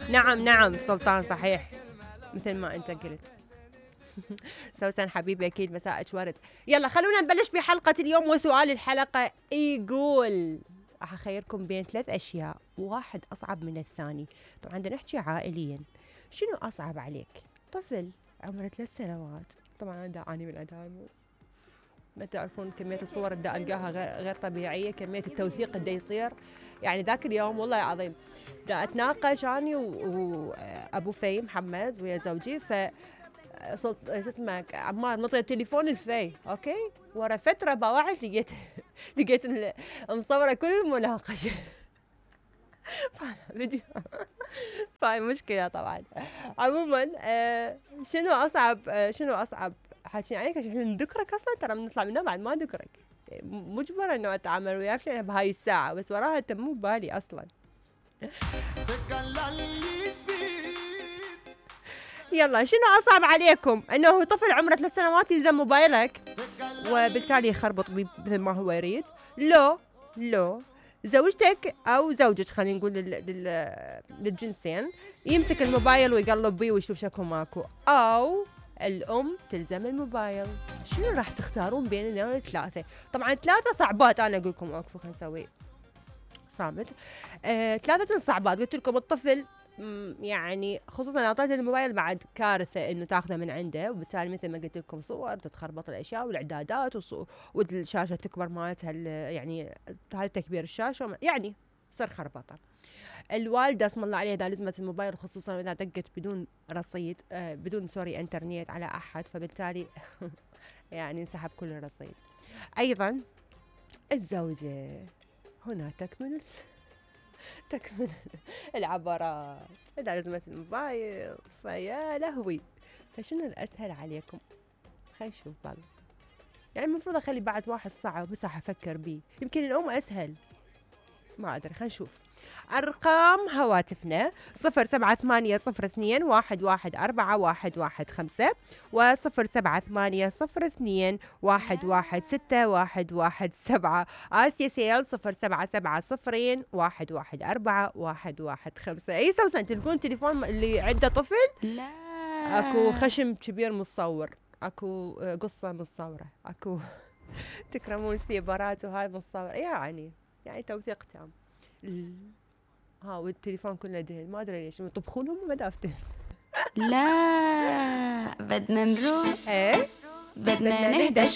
نعم سلطان صحيح مثل ما انت قلت. سوسن حبيبي اكيد مساءك ورد. يلا خلونا نبلش بحلقة اليوم، وسؤال الحلقة يقول راح اخيركم بين 3 اشياء، واحد اصعب من الثاني. طبعا بدنا نحكي عائليا. شنو اصعب عليك؟ طفل عمره 3 سنوات، طبعا انا دا اعاني من عندها، ما تعرفون كمية الصور اللي دا القاها غير طبيعية، كمية التوثيق اللي يصير. يعني ذاك اليوم والله العظيم دا اتناقش اني وابو في محمد ويا زوجي، ف شو اسمه عمار نطي التليفون الفي، اوكي، ورا فتره بوعت لقيت مصوره كل المناقشه. فيديو فاي مشكله طبعا. عموما شنو اصعب حاكين عليك عشان نذكرك اصلا، ترى بنطلع منه بعد ما ذكرك، مجبره انه اتعامل وياك بهاي الساعه، بس وراها انت مو ببالي اصلا. يلا شنو أصعب عليكم؟ أنه طفل عمره 3 سنوات يلزم موبايلك وبالتالي يخربط بيه مثل ما هو يريد، لو زوجتك أو زوجك خلينا نقول للجنسين يمسك الموبايل ويقلب بيه ويشوف شكو ماكو، أو الأم تلزم الموبايل. شنو راح تختارون بين الثلاثة؟ طبعا 3 صعبات، أنا أقول لكم أوقفوا خلينا نسوي صامت. 3 صعبات قلت لكم. الطفل يعني خصوصا اعطيته الموبايل بعد كارثه انه تاخذه من عنده، وبالتالي مثل ما قلت لكم صور تتخربط الاشياء والاعدادات والشاشه تكبر مالتها، يعني هذا تكبير الشاشه يعني صار خربطه. الوالده اسم الله عليها اذا لزمت الموبايل خصوصا اذا دقت بدون رصيد بدون انترنت على احد، فبالتالي يعني انسحب كل الرصيد. ايضا الزوجه هنا تكمن العبارات إذا لزمت الموبايل، فيا لهوي. فشنو الأسهل عليكم؟ خلي نشوف بالله. يعني المفروض أخلي بعد واحد صعب بس راح أفكر بيه، يمكن الأم أسهل، ما أدري. خلينا نشوف أرقام هواتفنا 0780211415 و078021161117. آسيا سيل 0770211415. أي سوسن تلقون تليفون اللي عنده طفل؟ لا أكو خشم كبير متصور، أكو قصة متصورة، أكو تكرمون سيبرات وهاي متصورة، يعني توثيق تام. والتليفون كله دهن، ما ادري ليش يطبخونهم ومدافتن. لا بدنا نروح ايه بدنا نهدى شوي.